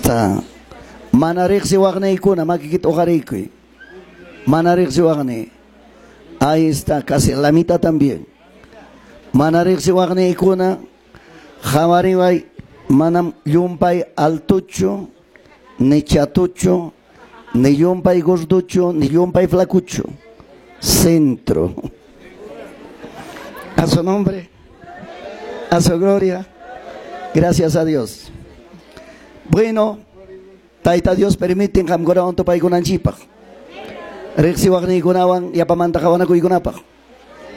Está. Mana riqsiwaqniykuna makikita uqarikuy. Mana riqsiwaqni. Ahí está, casi la mitad también. Mana riqsiwaqniykuna qawariway, manam llumpay altuchu, ni chatuchu, ni llumpay gorduchu, ni llumpay flacuchu. Centro. A su nombre, a su gloria. Gracias a Dios. Bueno, Tayta Dios permiten qamkunawan tupaykunanchikpaq. Riqsiwaqniykunawan yapamanta qawanakuykunapaq.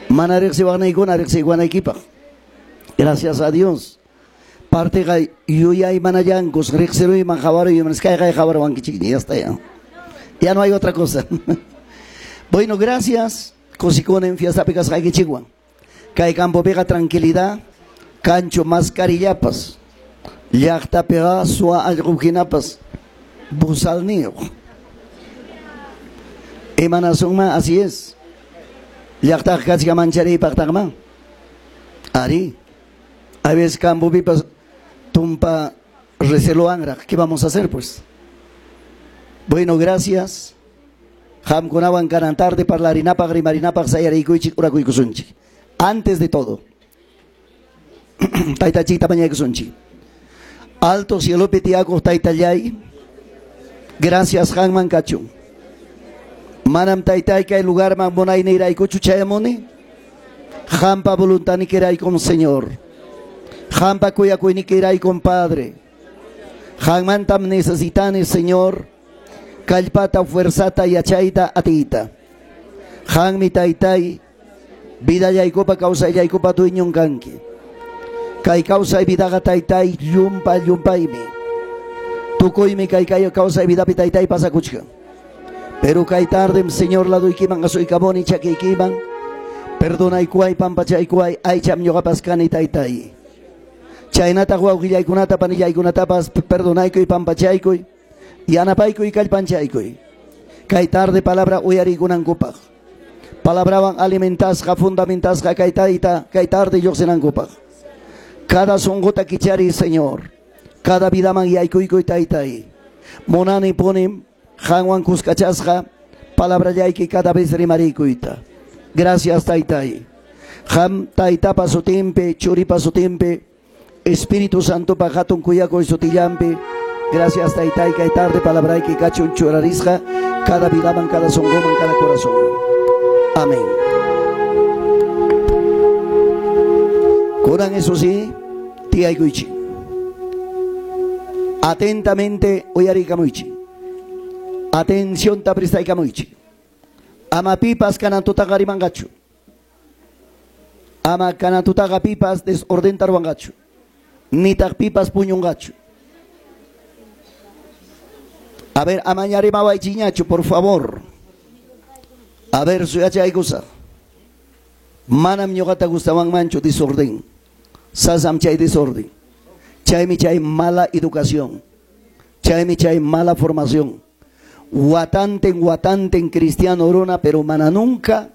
Mana riqsiwaqniykuna riqsiwanaykipaq. Gracias a Dios. Partiqa yuyaymanallankus riqsiruyman qawaruyman kayqay qawarwankichikña, ya está ya. Ya no hay otra cosa. Bueno, gracias. Kusikunim fiestapi kasqaykichikwan. Kay campopiqa tranquilidad, kanchu mascarillapas. Llaqtapiqa suwa allqu hinapas bozalniyuq. Imanasunman, así es. Llaqtaqa kachka manchariypaqtaqman. Ari. A veces campopipas tumpa recelowanraq. ¿Qué vamos a hacer, pues? Bueno, gracias. Qamkunawan kanan tarde parlarinapaq, rimarinapaq sayarikuychik, orakuykusunchik. Antes de todo, Taytachikta mañaykusunchik. Alto cielopi tiyakuq Taytallay, gracias qamman kachun. Manam Taytay kay lugarman munayniyraykuchu chayamuni. Qampa voluntadnikiraykum, Señor. Qampa kuyakuynikiraykum, Padre. Qammantam necesitani, Señor. Kallpata, fuerzata, yachayta, atiyta. Qammi Taytay, vidallaykupa, kawsayallaykupa dueñon kanki. Kay kawsay vidaqa Taytay llumpa llumpaymi. Tukuymi kay kay kawsay vidapi Taytay pasakuchkan. Pero kay tardem, Señor, laduykiman asuykamuni chakiykiman. Perdonaykuway, pampachaykuway, aycham ñuqapas kani Taytay. Chaynataq wawqillaykunata, panillaykunatapas perdonaykuy, pampachaykuy, yanapaykuy, kallpanchaykuy. Kay tarde palabra uyariykunankupaq. Palabrawan alimentasqa, fundamentasqa kay tayta, kay tarde lluqsinankupaq. Cada sunquta kichariy, Señor. Cada vidaman yaykuykuy, Taytay. Munani punim qamwan kuskachasqa palabrallayki cada vez rimarikuyta. Gracias, Taytay. Qam Taytapa sutinpi, Churipa sutinpi, Espíritu Santopa hatun kuyakuy sutillanpi. Gracias, Taytay, kay tarde palabrayki kachun churarisqa cada vidaman, cada sunquman, cada corazón. Amén. Kunan eso sí, tiyaykuychik. Atentamente uyarikamuychik. Atención ta prestaykamuychik. Ama pipas kanan tutaqa rimanqachu. Ama kanan tutaqa pipas desordenta ruwanqachu. Nitaq pipas puñunqachu. A ver, amaña rimawaychikñachu, por favor. A ver, suyachaykusaq. Manam ñuqata gustawanmanchu desorden. Sasam chay desorden. Chaymi chay mala educación. Chaymi chay mala formación. Watanten, watanten cristiano runa, pero mana nunca